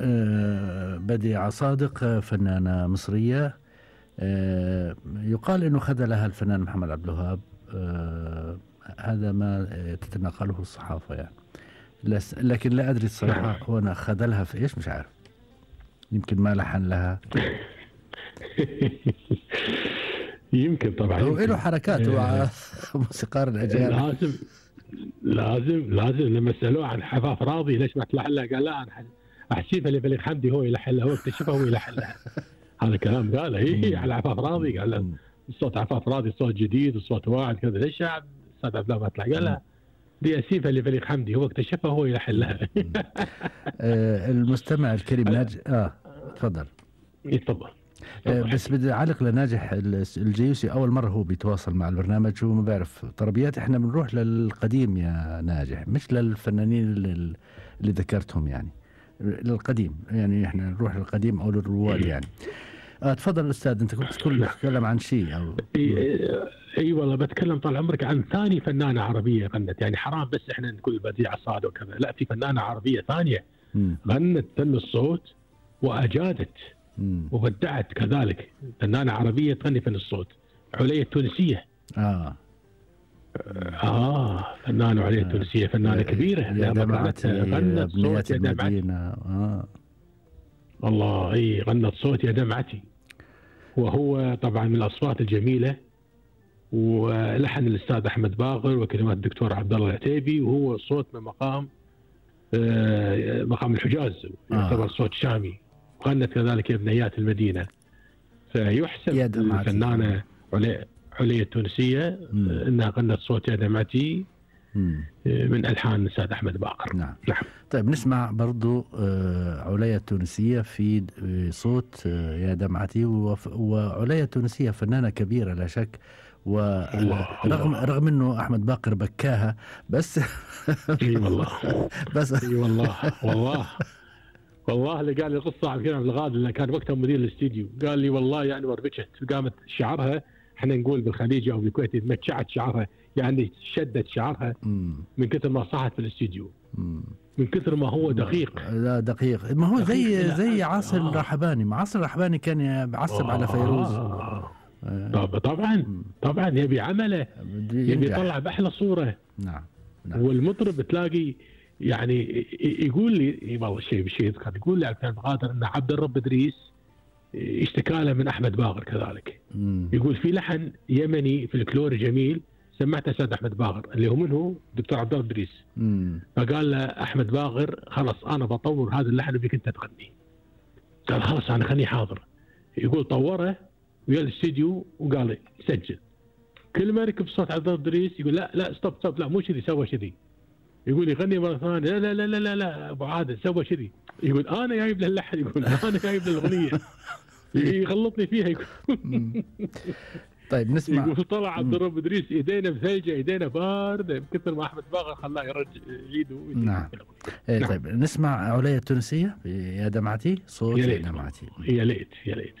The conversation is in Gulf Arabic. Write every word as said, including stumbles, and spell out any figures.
آه، بديعة صادق، آه، فنانة مصرية. آه، يقال انه خذلها الفنان محمد عبد الوهاب. آه، هذا ما آه، تتناقله الصحافة يعني. لس- لكن لا ادري الصراحة، هو انا خذلها في ايش مش عارف. يمكن ما لحن لها. يمكن طبعا هو يمكن. له حركاته آه، مع موسيقار الاجيال. لازم لازم لازم لما سالوه عن حفاف راضي ليش ما تلحن لها؟ قال لا انا احسيبها لبليغ حمدي هو يلحن لها، هو اكتشفها هو يلحن لها. هذا كلام قاله هي على عفاف راضي. قال له صوت عفاف راضي صوت جديد وصوت واعد كذا، ليش يا استاذ عبد الله ما تطلع؟ قال لا دي اسيبها لبليغ حمدي هو اكتشفها هو يلحن لها. آه، المستمع الكريم ناجح. اه تفضل. يتفضل. آه، بس بدي اعلق لناجح الجيوسي. اول مره هو بيتواصل مع البرنامج، وما بعرف طربيات. احنا بنروح للقديم يا ناجح، مش للفنانين اللي, اللي ذكرتهم يعني. للقديم يعني، احنا نروح للقديم او للرواد يعني. آه تفضل استاذ، انت كنت تقول تتكلم عن شيء او اي اي والله بتكلم طال عمرك عن ثاني فنانه عربيه غنت. يعني حرام بس احنا نقول بديعه صادق وكذا، لا في فنانه عربيه ثانيه مم. غنت فن الصوت واجادت مم. وبدعت كذلك. فنانه عربيه تغني فن الصوت، عليا التونسيه. اه اه فنانه عليا التونسيه، فنانه كبيره. يا دمعتي غنت صوت يا دمعتي. اه والله اي غنت صوت يا دمعتي. وهو طبعا من الاصوات الجميله، ولحن الاستاذ احمد باغر وكلمات الدكتور عبد الله العتيبي، وهو صوت من مقام آه مقام الحجاز، يعتبر آه. صوت شامي. وغنت كذلك يا بنيات المدينه. فيحسب الفنانه عليا عليا التونسيه مم. انها غنت صوت يا دمعتي من الحان الاستاذ احمد باقر. نعم. نعم. طيب نسمع برضو عليا التونسيه في صوت يا دمعتي. وعليا التونسيه فنانه كبيره لا شك، ورغم رغم انه احمد باقر بكاها بس. اي والله بس اي والله والله والله اللي قال لي قصه عن كلام الغاد اللي كان وقتها مدير الاستديو، قال لي والله يعني وربكت، قامت شعرها، احنا نقول بالخليجي او بالكويتي متشعت شعرها، يعني شدت شعرها من كثر ما صحت في الاستديو، من كثر ما هو دقيق. لا دقيق، ما هو زي زي عاصر آه. الرحباني. ما عاصر الرحباني كان بيعصب آه. على فيروز. آه. طب طبعا طبعا يبي عمله، يبي يطلع باحلى صوره. نعم. نعم. والمطرب تلاقي يعني يقول لي والله شيء بشيء يذكر، يقول لي عبد القادر ان عبد الرب ادريس اشتكى له من احمد باغر كذلك. مم. يقول في لحن يمني في الكلور جميل سمعته استاذ احمد باغر اللي هو منه دكتور عبد الرب ادريس. مم. فقال له احمد باغر خلاص انا بطور هذا اللحن وبيك انت تغني. قال خلاص انا خليه حاضر. يقول طوره ويا الاستديو وقال لي سجل. كل ما ركب صوت عبد الرب ادريس يقول لا لا ستوب ستوب لا مو كذي، سوى كذي. يقول يغني مره ثانيه لا لا لا لا لا ابو عادل سوى كذي. يقول انا جايب له اللحن، يقول انا جايب له الاغنيه. يغلطني فيها يقول. طيب نسمع. يقول طلع عبد الرب ادريس ايدينا بثلجه ايدينا بارده بكثر ما احمد باغر خلاه يرجع ايده. نعم. إيه نعم. طيب نسمع عليا التونسيه يا دمعتي صوت يا دمعتي. يا ليت يا ليت.